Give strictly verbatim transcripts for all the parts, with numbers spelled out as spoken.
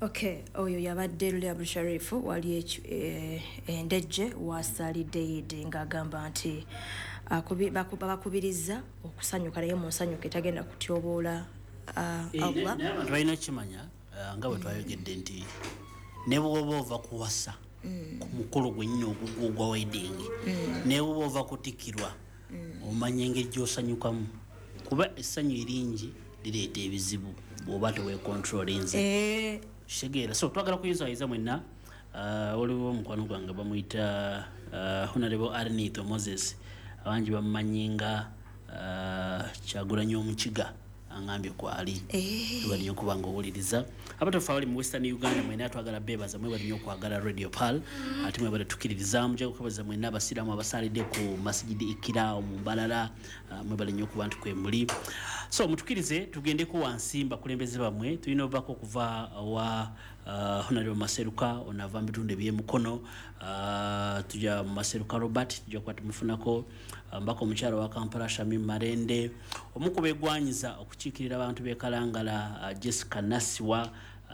Okay, oyo yabadde Lule Abdusharifu wali Endejje wasalidde Eid ng'agamba nti bakubiriza okusanyuka naye mu nsanyuka etagenda kutyoboola Allah. Naye abantu balina okukimanya nga bwe twayogedde nti ne bw'oba ova kuwasa ku mukolo gwennyini ogugwa wedding, ne bw'oba ova kutikkirwa omanya engeri gy'osanyukamu, kuba essanyu eringi lireeta ebizibu bw'oba teweekontrolinze. Kitegeera. So twagala kuyizayiza mwenna. Waliwo omukwano gwange bamuyita Honorable Arnito Moses, abangi bamumanyi nga Kyagulanyi Omukiga, angambye kwali mwebale nnyo okuba nga owuliriza. Abatofa abali mu Western Uganda mwenna twagala beebaza, mwebale nnyo okwagala Radio Pearl, ate mwebale tukkiririzaamu. Nja kukwebaza mwenna abasiraamu abasalidde ku Masjid Ikiraawo mu Mbalala, mwebale nnyo okuba nti kwe muli. So mutukkirize tugendeko wansi bakulembeze bammwe. Tulina obubaka okuva wa uh, Honorable Maseruka, ono ava mu bitundu eby'Emukono. uh, tujja Maseruka Robert, tujja kuba tumufunako. Mbaka omukyala wa Kampala Shamim Malende, omu ku beegwanyiza okukiikirira abantu b'e Kalangala uh, Jessica Nasiwa,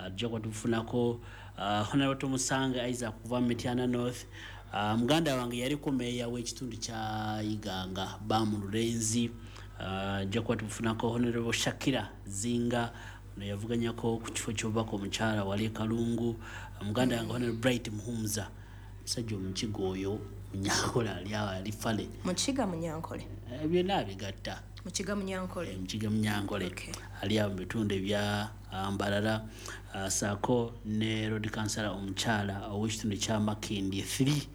tujja kuba tumufunako. uh, Honorable Tomusanga Isaac kuva mu Mityana North, uh, muganda wange yaliko meeya w'ekitundu kya Iganga Bamu Lulenzi, tujja uh, kuba tumufunako. Honorable Shakira Zinga, ono yavuganyako ku kifo ky'obubaka omukyala wali Kalungu. Muganda wange Honorable Bright Muhumza, musajja omukiga oyo Munyankole, ali awo ali fale. Mukiga Munyankole, byonna abigatta. Mukiga Munyankole, Mukiga Munyankole ali awo mu bitundu ebya Mbarara, saako ne road councillor omukyala ow'ekitundu kya Makindye three.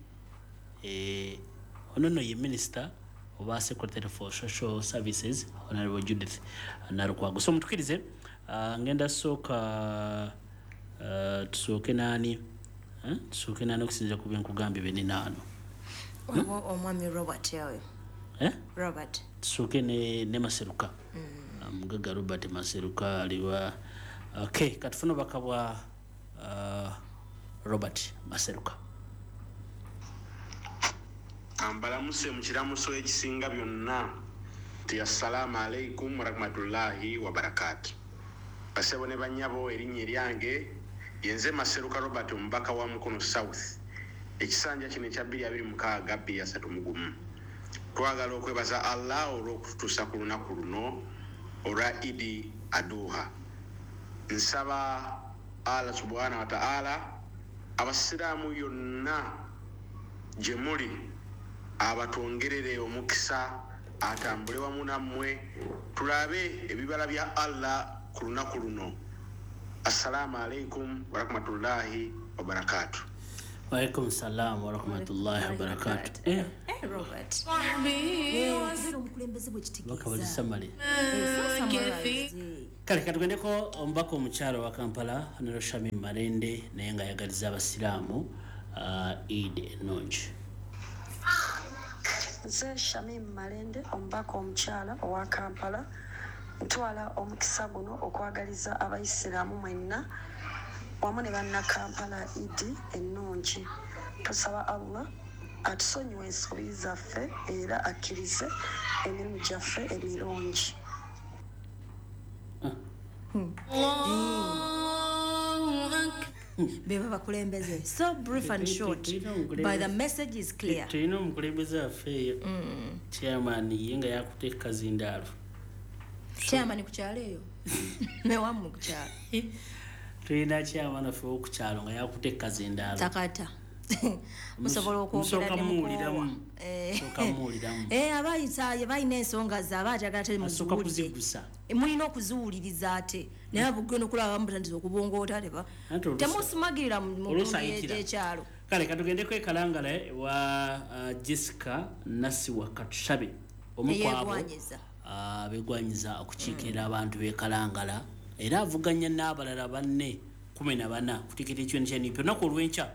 Ono nno ye minister oba secretary for social services Honorable Judith Nalukwago. So mutukirize, ngenda sooka tusooke naani, tusooke naani okusinziira ku byenkugambye byeninaano. Omwami Robert oyo. Robert. Tusooke ne Maseruka. Mugagga Robert Maseruka aliwa. Okay, katufune obubaka bwa Robert Maseruka. Ambalamuse mu kiramuso ekisinga byonna nti assalaamu alaikum warahmatullahi wabarakaatu. Basebo ne bannyabo, erinnya eryange yenze Maseruka Robert, omubaka wa Mukono South, ekisanja kino ekya bbiri abiri mukaaga bbiri asatu mu gumu. Twagala okwebaza Allah olw'okututuusa ku lunaku luno olwa Idi Aduha. Nsaba Allah subhanahu wa ta'ala abasiraamu yonna gye muli abatwongerere omukisa, atambule wamu nammwe, tulabe ebibala bya Allah ku lunaku luno. Assalaamu alaikum warahmatullahi wabarakatuh. Waalaikum salam warahmatullahi wabarakatuh. Eh, Robert. Omukulembeze bwe kitegeeza. Kale katugendeko omubaka omukyala wa Kampala Honorable Shamim Malende, naye nga ayagaliza abasiraamu Eid ennungi. Nze Shamim Malende, omubaka omukyala owa Kampala, ntwala omukisa guno okwagaliza abayisiraamu mwenna wamu ne bannakampala Idi ennungi. Tusaba Allah atusonyiwe ensobi zaffe era akkirize emirimu gyaffe emirungi. Beba bakulembeze. So brief and short, but the message is clear. Tulina omukulembeze waffe eyo chairman ye nga yakutte kazindaalo. Chairman ku kyalo eyo newammwe ku kyalo tulina chairman waffe ow'oku kyalo nga yakutte kazindaalo takata musobola okwogera ne mukoowa. Eh, abayisa balina ensonga zaabwe, ayagala temuziwulire, mulina okuziwuliriza ate naye bugenda okulaba mutandise okubongoota teba temusimagirira mu ekyalo. Kale katugendeko e Kalangala wa Jessica Nasiwa Katushabe, omu kwabo beegwanyiza okukiikirira abantu b'e Kalangala, era avuganya n'abalala banne kumi na bana kutikira ekibiina kya N U P. Olunaku olw'enkya,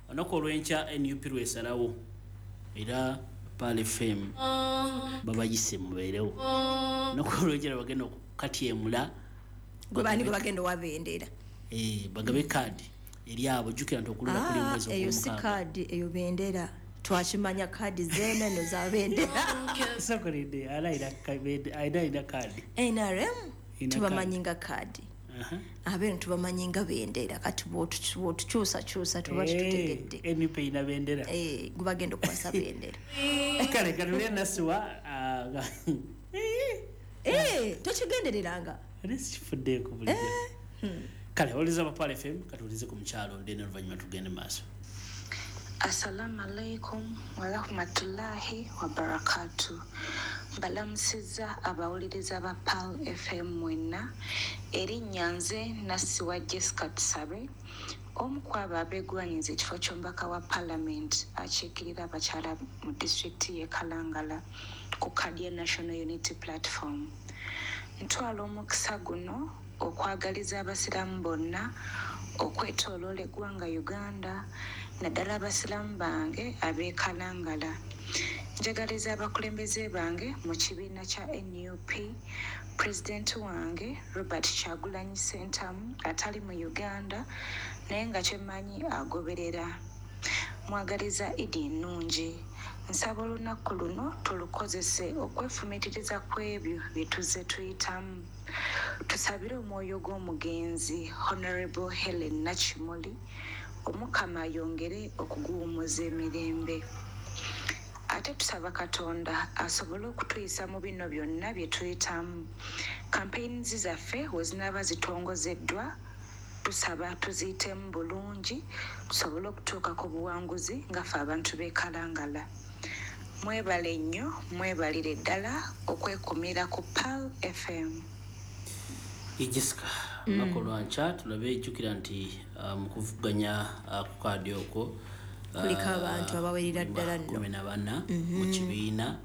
olunaku olw'enkya N U P lwesalawo, era Pearl F M babayise mubeerewo. Olunaku olw'enkya bagenda okukatyemula gwe bani gwe bagenda owabendera, eh, bagabe kaadi eri abo. Jjukira nti okulonda kuli mwezi ogw'omukaaga. Eyo si kaadi, eyo bendera. Twakimanya kaadi zeeneno za bendera. Sokolede alayira alina kaadi N R M tubamanyi nga kaadi. Abeeno tubamanyi nga bendera, kati bw'otukyusakyusa tuba tutegedde. N U P erina bendera. Eh, gubagenda okukwasa bendera. Kale katulye Nasiwa. Eh, tokigendereranga. Ate sikifuddeeko bulijjo. Kale owuliriza Papa F M, katuwulize ku mukyalo then oluvannyuma tugende mu maaso. Assalamu alaikum warahmatullahi wabarakatuh. Mbalamusizza abawuliriza ba Pearl F M mwenna. Erinnya nze Nasiwa Jessica Tusabe, omu ku abo abeegwanyiza ekifo ky'omubaka wa Parliament akiikirira abakyala mu disitulikiti y'e Kalangala ku kaadi ya National Unity Platform. Ntwala omukisa guno okwagaliza abasiraamu bonna okwetooloola eggwanga Uganda, naddala abasiraamu bange ab'e Kalangala. Njagaliza abakulembeze bange mu kibiina kya N U P, pulezidenti wange Robert Kyagulanyi Ssentamu atali mu Uganda naye nga kyemmanyi agoberera. Mwagaliza Idi ennungi. Nsaba olunaku luno tulukozese okwefumiitiriza ku ebyo bye tuzze tuyitamu. Tusabire omwoyo gw'omugenzi Honorable Helen Nakimuli, Omukama ayongere okuguwummuza emirembe. Ate tusaba Katonda asobole okutuyisa mu bino byonna bye tuyitamu. Campaigns zaffe we zinaaba zitongozeddwa, tusaba tuziyitemu bulungi tusobole okutuuka ku buwanguzi nga ffe abantu b'e Kalangala. Mwebale nnyo, mwebalire ddala okwekumira ku Pearl F M. Jessica, lunaku lwankya tulabe, jjukira nti mu kuvuganya ku kaadi okwo kuliko abantu abawerera ddala nno kumi na bana mu kibiina.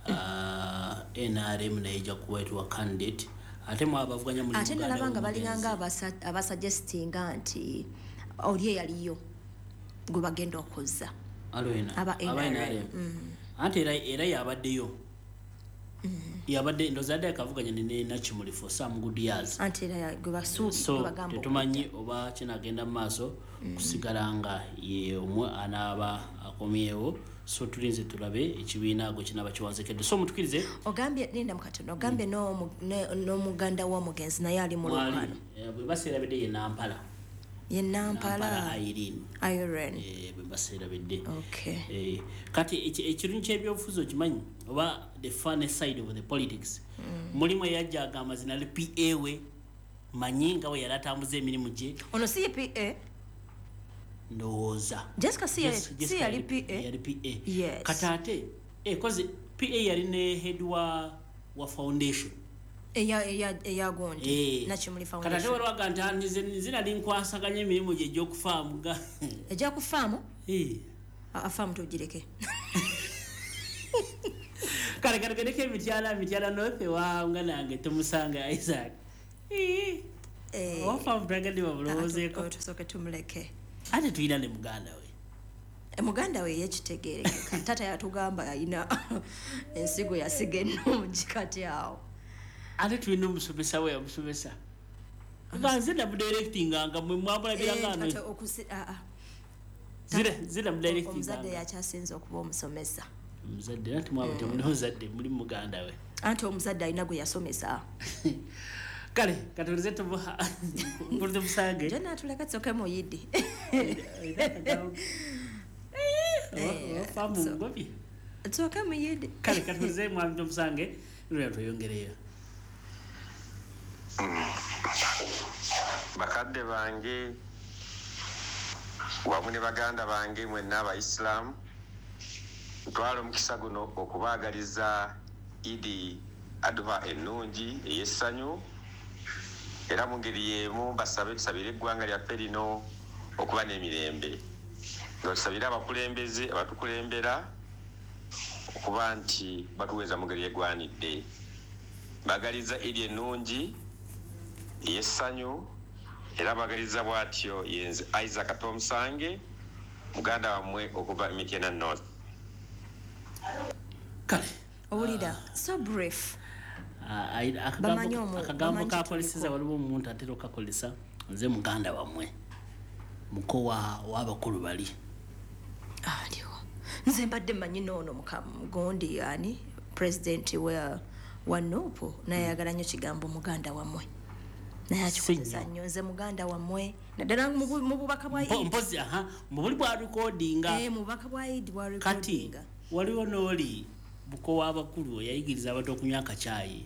N R M naye ejja kuweetwa candidate, ate mu abavuganya muli ate nalaba nga balinganga abasuggestinga nti oli eyaliyo gwe bagenda okuzza aba N R M. Anti era era yabaddeyo yabadde ndowooza adde akavuganya ne Nakimuli for some good years. Anti era gwe basuubi bagamba tetumanyi oba kinagenda mu maaso kusigala nga ye omwe anaaba akomyewo. So tulinze tulabe ekibiina gwe kinaaba kiwanzekedde. So mutukirize ogambye linda mukatono ogambye n'omuganda w'omugenzi naye ali mu lukano bwe baseerabidde ye Nampala ye Nampala Irene Irene eh bwe baseerabidde. Okay. Eh kati ekirungi ky'ebyobufuzi okimanyi oba the funny side of the politics. Mulimu eyajja agamba zinali P A we manyi nga we yali atambuza emirimu gye. Ono si ye P A? Ndowooza Jessica si yali P A? Yali P A. Yes. Kati ate eh kozi P A yali ne head wa wa foundation eya eya eya gondi Nakimuli Foundation. Kati ate waliwo agamba nti nze nze nali nkwasaganya emirimu gye egy'okufaamu ga egy'okufaamu? Eh. Afaamu tugireke. Kale kale kale emityala mityala north wa nga nange tumusanga Isaac. Eh. Eh. Ofaamu twagadde babulowoozeeko. Tusooke tumuleke. Ate tulina ne muganda we. Muganda we yekitegeerekeka. Taata yatugamba alina ensigo yasiga ennungi kati awo. Ate tulina omusomesa we yamusomesa. Nga nze namudirectinga nga mwe mwamulabiranga ano. Zira zira mudirectinga. Omuzadde yakyasinze okuba omusomesa. Omuzadde anti mwaba temuli muzadde muli muganda we. Anti omuzadde alina gwe yasomesa. Kale katulize tubuha mpulire musange. Jana tuleka tusoke muyidi. Eh famu ngobi. Tusoke muyidi. Kale katulize mwami musange lwe tweyongereyo. Bakadde bange wamu ne baganda bange mwenna abayisiraamu, ntwala omukisa guno okubaagaliza Idi Adha ennungi ey'essanyu, era mu ngeri y'emu mbasabe tusabire eggwanga lyaffe lino okuba n'emirembe, nga tusabire abakulembeze abatukulembera okuba nti batuweeza mu ngeri egwanidde. Mbagaliza Idi ennungi ey'essanyu, era mbagaliza bw'atyo yenze Isaac Tomusange, muganda wammwe okuva Mityana North. Kale owulira so brief. Akagambo kakoleseza waliwo omuntu atera okakolesa nze muganda wammwe muko w'abakulu bali aliwo. Nze mbadde mmanyi noono mugondi ani president wa wa N U P naye ayagala nnyo kigambo muganda wammwe. Naye akikozesa nnyo. Nze muganda wammwe, naddala mu bubaka bwa Eid. Mpozi aha, mu buli bwa recordinga. Eh, mu bubaka bwa Eid bwa recordinga. Kati waliwo n'oli buko w'abakulu yayigiriza abantu okunywa akacaayi.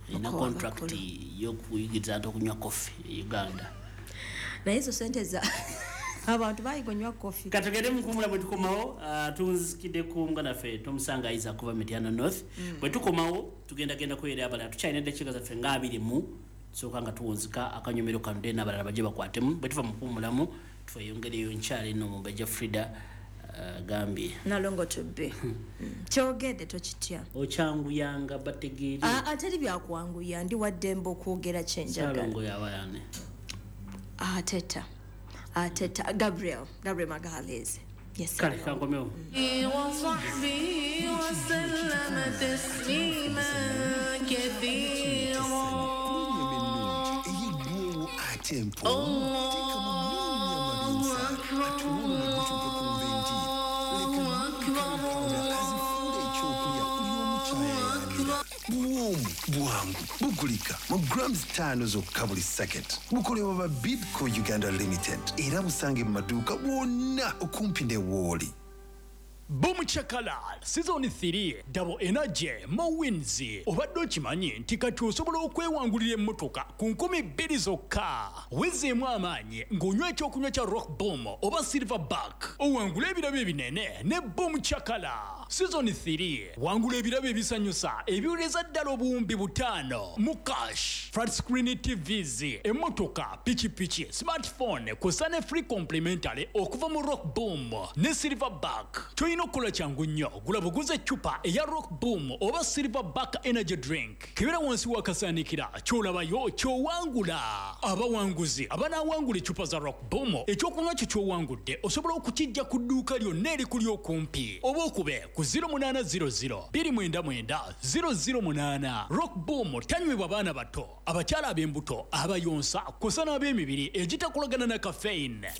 Ina contract y'okuyigiriza abantu okunywa coffee e Uganda. Naye ezo sente za abantu bayiga onywa coffee. Katugende mukumula bwe tukomawo, uh, tunzikidde ku muganda ffe Tomusanga Isaac kuva Mityana North. Mm. Bwe tukomawo tugenda genda kwera abalala, tukyalina eddakiika zaffe nga abiri mu tusooka nga tuwunzika akanyomero kano then abalala bajje bakwatemu. Bwe tuva mu kuwummulamu tweyongereyo nkyala eno Omumbejja Frida agambye uh, Nalongo tubbe. Kyogedde tokitya. Okyanguyanga bategeere. Ah, teri byakwanguya, ndi waddembe okwogera kye njagala. Nalongo yabayane. Ateta. Ateta Gabriel, Gabriel Magalhaes. Yes. Kale kankomewo. وصحبه وسلم تسليما كثيرا. الله أكبر الله أكبر Buwomu bwangu bugulika mu grams ttaano zokka buli sacket. Bukolebwa ba Bidco Uganda Limited era busange mu maduuka wonna okumpi ne wooli. Boom Chakala Season three Double Energy Mo Wins. Obadde okimanyi nti kati osobola okwewangulira emmotoka ku nkumi bbiri zokka. Wezeemu amaanyi ng'onywa ekyokunywa kya Rock Boom oba Silverback, owangule ebirabo ebinene ne Boom Chakala Season three. Wangula ebirabo ebisanyusa ebiwereza ddala obuwumbi butaano mu cash, flat screen T Vs, emmotoka, pikipiki, smartphone kw'ossa ne free complimentary okuva mu Rock Boom ne Silverback. Toyina okukola kyangu nnyo, gula buguze eccupa eya Rock Boom oba Silverback Energy Drink. Kebera wansi w'akasaanikira, ky'olabayo ky'owangula. Abawanguzi abanaawangula eccupa za Rock Boom, ekyokunywa kyo ky'owangudde osobola okukijja ku dduuka lyonna erikuli okumpi oba okube ku zero munaana zero zero bbiri mwenda mwenda zero zero munaana. Rock Boom tanywebwa baana bato, abakyala ab'embuto, abayonsa kw'ossa n'ab'emibiri egitakolagana na caffeine.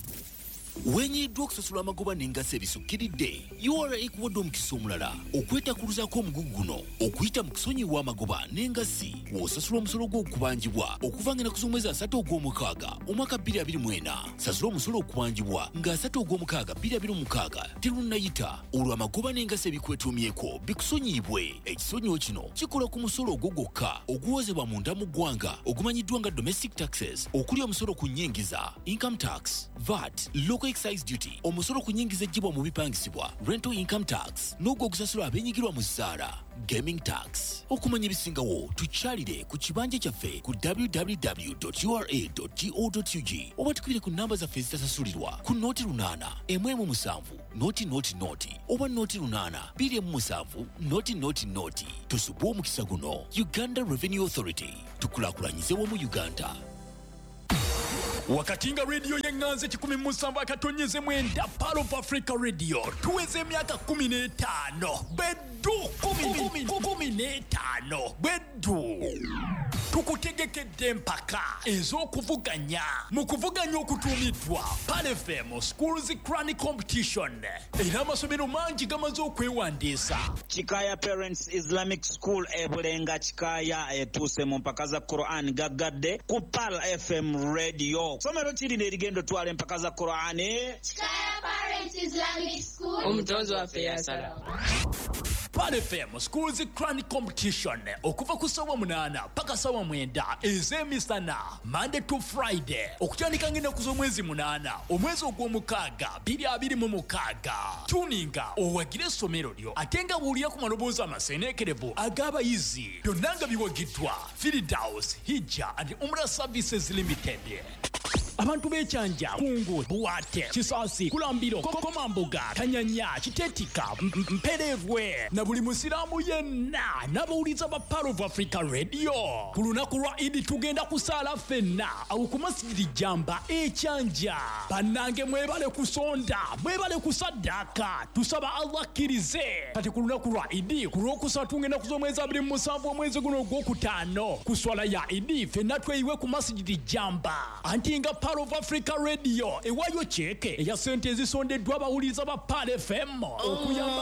Wenyiddwa okusasula amagoba n'engassi ebisukkiridde, U R A ekuwadde omukisa omulala okwetakuluzaako omugugu guno okuyita mu kusonyiwa amagoba n'engassi w'osasula omusolo gw'okubanjibwa okuva ng'ennaku z'omwezi asatu ogw'omukaaga omwaka bbiri abiri mu ena. Sasula omusolo okubanjibwa nga asatu ogw'omukaaga bbiri abiri mu mukaaga terunnayita, olwo amagoba n'engassi ebikwetuumyeko bikusonyiyibwe. Ekisonyiwo kino kikola ku musolo ogwo gwokka oguwozebwa munda mu ggwanga ogumanyiddwa nga domestic taxes, okuli omusolo ku nnyingiza, income tax, V A T, local excise duty, omusolo ku nnyingiza eggyibwa mu bipangisibwa, rental income tax, n'ogwo ogusasulwa abeenyigirwa mu zzaala, gaming tax. Okumanya ebisingawo tukyalire ku kibanja kyaffe ku w w w dot u r a dot go dot u g oba tukubire ku namba zaffe ezitasasulirwa ku noti lunaana emu emu musanvu noti noti noti oba noti lunaana bbiri emu musanvu noti noti noti. Tusubwe omukisa guno. Uganda Revenue Authority, tukulaakulanyize wamu Uganda. Wakati nga radio y'enganze kikumi musanvu akatonyeze mwenda Pearl of Africa Radio tuweze emyaka kumi n'etaano beddu kumi kumi n'etaano beddu. Tukutegekedde empaka ez'okuvuganya mu kuvuganya okutuumiddwa Pearl F M Schools Cranny Competition, era amasomero mangi gamaze okwewandiisa. Kikaya Parents Islamic School e Bulenga Kikaya etuuse mu mpaka za Quran gaggadde ku Pearl F M Radio. Somero kiri n'erigendo twala empaka za Quran. Kikaya Parents Islamic School. Omutonzi waffe yasala. Pearl F M Schools Cranny Competition okuva ku ssaawa munaana paka ssaawa mwenda ez'emisana Monday to Friday okutandika ng'ennaku z'omwezi munaana omwezi ogw'omukaaga bbiri abiri mu mukaaga. Tuninga owagire essomero lyo ate nga buulira ku maloboozi amaseeneekerevu ag'abayizi. Byonna nga biwagiddwa Firdaus Hijja and Umrah Services Limited. Abantu b'Ekyanja, Kungu, Buwate, Kisaasi, Kulambiro, Komambuga, Kanyanya, Kitetika, Mpererwe na buli musiraamu yenna n'abawuliza ba Pearl of Africa Radio. Ku lunaku lwa Idi tugenda kusaala ffenna awo ku Masjidi Jamba Ekyanja. Bannange mwebale kusonda, mwebale kusaddaaka, tusaba Allah akkirize. Kati ku lunaku lwa Idi ku lwokusatu ng'ennaku z'omwezi abiri mu musanvu omwezi guno ogwokutaano ku swala ya Idi ffenna tweyiwe ku Masjidi Jamba. Anti nga Pearl of Africa Radio ewayo kyeke eya sente ezisondeddwa abawuliza ba Pearl F M okuyamba